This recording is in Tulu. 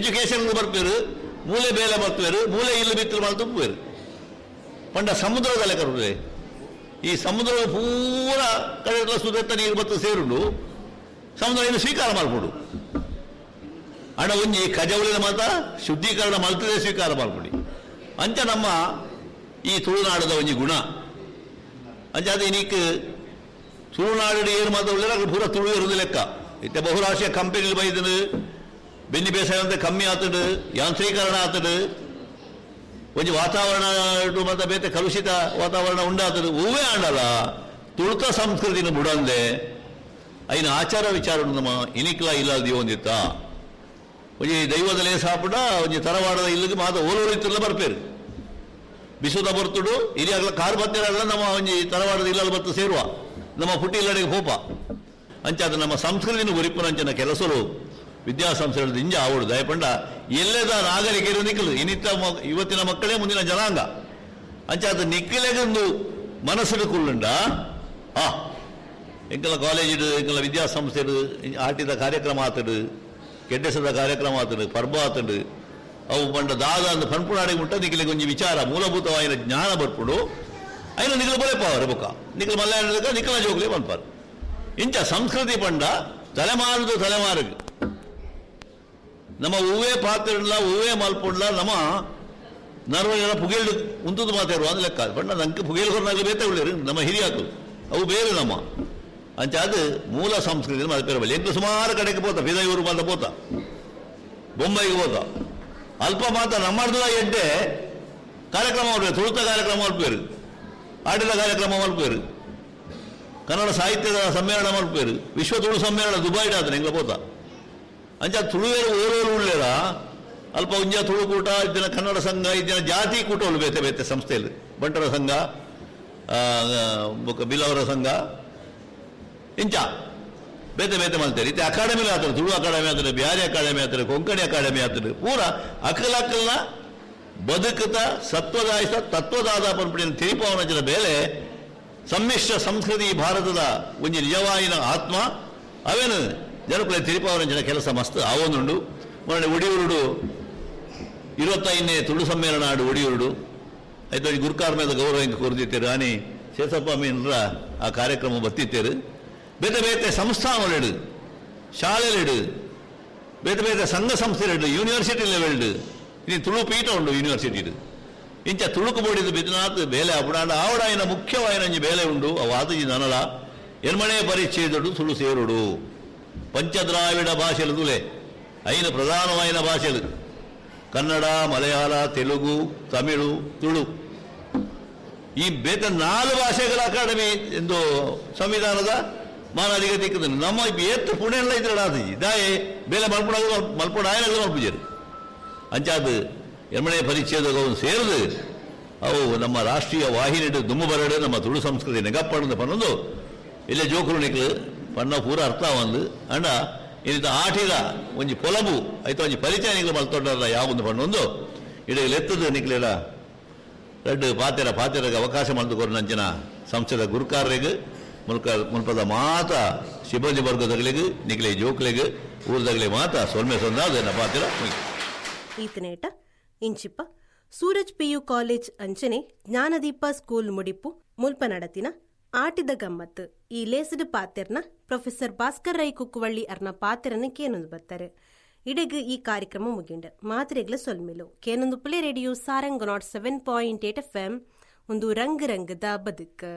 ಎಜುಕೇಶನ್ ಬರ್ಪೇರು, ಮೂಲೆ ಬೇಲೆ ಬರ್ಪೇರು, ಮೂಲೆ ಇಲ್ಲು ಬಿತ್ತಲು ಮಲ್ತುಪ್ಪೇರು. ಪಂಡ ಸಮುದ್ರದ ಲೆಕ್ಕ ಈ ಸಮುದ್ರ ಪೂರ ಕಡೆ ಸುದತ್ತ ನೀರು ಬತ್ತು ಸೇರುಂಡು, ಸಮುದ್ರ ಇನ್ನು ಸ್ವೀಕಾರ ಮಾಡ್ಕೊಡು. ಅಣ್ಣ ಒಂಜಿ ಕಜವಳಿನ ಮಾತ ಶುದ್ಧೀಕರಣ ಮಲ್ತದೆ ಸ್ವೀಕಾರ ಮಾಡ್ಕೊಡಿ. ಅಂಚ ನಮ್ಮ ಈ ತುಳುನಾಡದ ಒಂಜಿ ಗುಣ. ಅಂಚ ಅದು ಇನ್ನೀಕ್ ತುಳುನಾಡು ಏನು ಮಾತ್ರ ಉಳ್ಳೆರ ಪೂರ ತುಳು ಇರುವುದು ಲೆಕ್ಕ. ಇತ್ತೆ ಬಹುರಾಷ್ಟ್ರೀಯ ಕಂಪೆನಿలు ಬೈದನು, ಬೆನ್ನಿ ಬೇಸಾಯ ಅಂತ ಕಮ್ಮಿ ಆತಡು, ಯಾಂತ್ರೀಕರಣ ಆತಡು, ಒಂಜಿ ವಾತಾವರಣ ಮತ್ತೆ ಬೇತೆ ಕಲುಷಿತ ವಾತಾವರಣ ಉಂಡಾತಡು. ಹೂವೇ ಆಂಡಲ್ಲ ತುಳುತ ಸಂಸ್ಕೃತಿನ ಬುಡಂದೆ ಐನ ಆಚಾರ ವಿಚಾರ ನಮ್ಮ ಇನಿಕ್ಲ ಇಲ್ಲ ದಿವೊಂದಿತ್ತ. ಒಂಜಿ ದೈವದಲೇ ಸಾಪುಡ ಒಂಜಿ ತರವಾಡದ ಇಲ್ಲಿಗೆ ಮಾತ ಓಲೋರು ಇತ್ತಿಲ್ಲ ಬರ್ಪೇರು. ಬಿಸುದ ಬರ್ತುಡು ಇರಿಯಾಗಲ ಕಾರ್ ಬತ್ತಿರಲ್ಲ ನಮ್ಮ ಒಂಜಿ ತರವಾಡದ ಇಲ್ಲಲ್ಲಿ ಬತ್ತು ಸೇರುವ ನಮ್ಮ ಪುಟ್ಟಿ ಇಲ್ಲಡೆಗೆ ಹೋಪ. ಅಂಚಾದ ನಮ್ಮ ಸಂಸ್ಕೃತಿನ ಉರಿಪುನಂಚಿನ ಕೆಲಸರು ವಿದ್ಯಾಸಂಸ್ಥೆಗಳು ಇಂಜ ಆವಡು ದಯಪಂಡ ಎಲ್ಲದ ನಾಗರಿಕರು ನಿಕ್ಕಲು ಇನ್ನಿತ್ತ ಇವತ್ತಿನ ಮಕ್ಕಳೇ ಮುಂದಿನ ಜನಾಂಗ. ಅಂಚಾದ ನಿಕ್ಕಲೆಗೊಂದು ಮನಸ್ಸು ಕುಲ್ಲುಂಡ ಆ ಎಂಕಲ ಕಾಲೇಜಿಡು ಎಂಕಲ ವಿದ್ಯಾಸಂಸ್ಥೆಡು ಆಟಿದ ಕಾರ್ಯಕ್ರಮ ಆತಡು, ಕೆಡ್ಡೆಸದ ಕಾರ್ಯಕ್ರಮ ಆತಡು, ಪರ್ಬ ಆತಡು, ಅವು ಪಂಡ ದಾದ ಅಂದ್ ಪನ್ಪುನಾಡಿಗೆ ಮುಟ್ಟ ನಿಕ್ಕಲಿಗೆ ಒಂಜಿ ವಿಚಾರ ಮೂಲಭೂತವಾಯಿನ ಜ್ಞಾನ ಬರ್ಪುಡು. ಐನ ನಿಕ್ಕಲು ಬೊಲೆಪಾವರು ಬೊಕ್ಕ ನಿಕ್ಕಲು ಮಲ್ಯಾಣ ನಿಕ್ಕಲ ಜೋಗ್ಲಿ ಪನ್ಪಾರು. ಇಂಚ ಸಂಸ್ಕೃತಿ ಪಂಡ ತಲೆಮಾರುದು ತಲೆಮಾರುಗು ನಮ್ಮ ಹೂವೇ ಪಾತ್ರಲ್ಲ ಹೂವೇ ಮಲ್ಪುಂಡ್ಲ ನಮ್ಮ ನರ್ವಜನ ಪುಗೇಳು ಉಂತುದು ಮಾತಾಡುವ ಅಂದ್ ಲೆಕ್ಕ. ಬಣ್ಣ ನಂಗೆ ಪುಗೇಲು ಹೊರನಾಗಲಿ ಬೇತೆ ಉಳ್ಳೇರು ನಮ್ಮ ಹಿರಿಯಾಕು ಅವು ಬೇರೆ ನಮ್ಮ. ಅಂಚ ಅದು ಮೂಲ ಸಂಸ್ಕೃತಿ ಮಾತಾಡ ಬಲ್ಲಿ. ಎಂಟು ಸುಮಾರು ಕಡೆಗೆ ಪೋತ ಬಿದಯೂರು ಮಾತ ಪೋತ ಬೊಂಬೈಗೆ ಹೋತ ಅಲ್ಪ ಮಾತ ನಮ್ಮರ್ದ ಎಡ್ಡೆ ಕಾರ್ಯಕ್ರಮ ಮಾಡ್ಬೇಕು, ತುಳುತ ಕಾರ್ಯಕ್ರಮ ಮಲ್ಪೇರು, ಆಟದ ಕಾರ್ಯಕ್ರಮ ಮಲ್ಪೇರು, ಕನ್ನಡ ಸಾಹಿತ್ಯದ ಸಮ್ಮೇಳನ ಮಲ್ಪೇರು, ವಿಶ್ವ ತುಳು ಸಮ್ಮೇಳನ ದುಬೈಡ್ ಆದ್ರೆ ಎಂಗ್ಲ ಪೋತ. ಅಂಚ ತುಳುವೇರು ಓರೋರು ಉಳ್ಳೇರ ಅಲ್ಪ ಉಂಜ ತುಳುಕೂಟ ಇದ್ದಿನ ಕನ್ನಡ ಸಂಘ ಇದ್ದಿನ ಜಾತಿ ಕೂಟಗಳು ಬೇತೆ ಬೇತೆ ಸಂಸ್ಥೆಯಲ್ಲಿ ಬಂಟರ ಸಂಘ, ಬಿಲ್ಲವರ ಸಂಘ, ಇಂಚ ಬೇತೆ ಬೇತೆ ಮಾಡ್ತಾರೆ. ಇತ್ತೆ ಅಕಾಡೆಮಿ ಆತರು, ತುಳು ಅಕಾಡೆಮಿ ಆತರು, ಬ್ಯಾರಿ ಅಕಾಡೆಮಿ ಆತರು, ಕೊಂಕಣಿ ಅಕಾಡೆಮಿ ಆತರು, ಪೂರ ಅಕಲಕಲ್ನ ಬದುಕುತ್ತ ಸತ್ವದಾಯಿಸ ತತ್ವದಾದ ಪನ್ಪುಡಿನ ತಿರಿಪವನಂಚಿನ ಬೇಲೆ ಸಮ್ಮಿಶ್ರ ಸಂಸ್ಕೃತಿ ಭಾರತದ ಒಂಜಿ ನಿಜವಾಯಿನ ಆತ್ಮ ಅವೇನು ಜನಕುಲೆ ತಿರುಪಾವರಂಚಿನ ಕೆಲಸ ಮಸ್ತ್ ಆವೊಂದುಂಡು. ಮೊನ್ನೆ ಒಡಿಯೂರುಡು 25ನೇ ತುಳು ಸಮ್ಮೇಳನ ಆಡು ಒಡಿಯೂರುಡು ಆಯ್ತು ಗುರುಕಾರ ಮೇಲೆ ಗೌರವ ಹಿಂಗೆ ಕೊರ್ದಿತ್ತೇರು ಆನಿ ಶೇಷಪ್ಪ ಮೀನ್ರ ಆ ಕಾರ್ಯಕ್ರಮ ಬತ್ತಿತ್ತೇರು. ಬೇತೆ ಬೇತೆ ಸಂಸ್ಥಾನಗಳಿಡು, ಶಾಲೆಲಿಡು, ಬೇತೆ ಬೇತೆ ಸಂಘ ಸಂಸ್ಥೆಗಳಿಡು, ಯೂನಿವರ್ಸಿಟಿ ಲೆವೆಲ್ಡು ಇನ್ನು ತುಳು ಪೀಠ ಉಂಡು ಯೂನಿವರ್ಸಿಟಿ. ಇಂಚ ತುಳುಕು ಬೋಡಿದು ಬಿದ್ನಾಥ್ ಬೇಲೆ ಆಪುಡಾಂಡ ಆವಡಾಯಿನ ಮುಖ್ಯವಾಯಿನಂಜಿ ಬೇಲೆ ಉಂಡು. ಅವು ಆತಜಿ ನನಲ ಎನ್ಮಣೆ ಪರಿಚ್ಛೇದುಡು ತುಳು ಸೇರುಡು ಪಂಚದ್ರಾವಿಡ ಭಾಷೆಲು ತುಲೆ ಐನ ಪ್ರಧಾನವಾಯಿನ ಭಾಷೆಲು ಕನ್ನಡ, ಮಲಯಾಳ, ತೆಲುಗು, ತಮಿಳು, ತುಳು. ಈ ಬೇತೆ 4 ಭಾಷೆಗಳ ಅಕಾಡೆಮಿ ಎಂದು ಸಂವಿಧಾನದ ಮಾನಾಧಿಗತಿ ನಮ್ಮ ಏತ್ತು ಪುಣೆಲ್ಲ ಇದ್ರೆ ಆತಜಿ ದಾಯೆ ಬೇಲೆ ಮಲ್ಪುಡ ಮಲ್ಪುಡ ಆಯನಗಳು ಮಲ್ಪುಜರು. ಅಂಚಾದ ಎನ್ಮಣೆ ಪರಿಚ್ಛೇದ ಸೇರಿದು ಅವು ನಮ್ಮ ರಾಷ್ಟ್ರೀಯ ವಾಹಿನಿ ದುಮ್ಮು ಬರಡು ನಮ್ಮ ತುಳು ಸಂಸ್ಕೃತಿ ನೆಗಪ್ಪಣದ ಪನ್ನೊಂದು ಇಲ್ಲೇ ಜೋಕುರು ನಿಕ್ಲು ಪಣ್ಣ ಪೂರ ಅರ್ಥ ಒಂದು ಅಂಡ ಇನ್ನಿತ ಆಟಿದ ಒಂಜಿ ಪೊಲಬು ಆಯ್ತು ಒಂಜಿ ಪರಿಚಯ ನಿಕ್ಲು ಮಲ್ತೊಂಡಲ್ಲ ಯಾವೊಂದು ಪಣ್ಣೊಂದು ಇಡೀ ಎತ್ತದು ನಿಕ್ಲೆಡ ರಡ್ಡು ಪಾತೆರ ಪಾತೆರಗೆ ಅವಕಾಶ ಮಲ್ದುಕೊರು ನಂಚಿನ ಸಂಸ್ಥೆದ ಗುರುಕಾರರಿಗೆ ಮುಲ್ಕ ಮುಲ್ಪದ ಮಾತ ಸಿಬ್ಬಂದಿ ವರ್ಗದಗಳಿಗೆ ನಿಕ್ಲೆ ಜೋಕ್ಲೆಗ್ ಊರ್ದಗಲೆ ಮಾತ ಸೊಲ್ಮೆ ಸೊಂದಾದ ಪಾತೆರ. ಈತನೇಟ ಇಂಚಿಪ್ಪ ಸೂರಜ್ ಪಿಯು ಕಾಲೇಜ್ ಅಂಚನೆ ಜ್ಞಾನದೀಪ ಸ್ಕೂಲ್ ಮುಡಿಪು ಮುಲ್ಪ ನಡತಿನ ಆಟಿದ ಗಮ್ಮತ್ತು ಈ ಲೇಸಿಡು ಪಾತೆರ್ನ ಪ್ರೊಫೆಸರ್ ಭಾಸ್ಕರ್ ರೈ ಕುಕ್ಕುವಳ್ಳಿ ಅರ್ನ ಪಾತೆರನ ಕೇನೊಂದು ಬರ್ತಾರೆ. ಇಡೆಗ್ ಈ ಕಾರ್ಯಕ್ರಮ ಮುಗಿಂಡ ಮಾತ್ರೆಗ್ಲ ಸೊಲ್ಮಿಲು ಕೇನೊಂದು ಪುಲೆ ರೇಡಿಯೋ ಸಾರಂಗ್ 107.8 FM ಒಂದು ರಂಗ್ ರಂಗದ ಬದುಕು.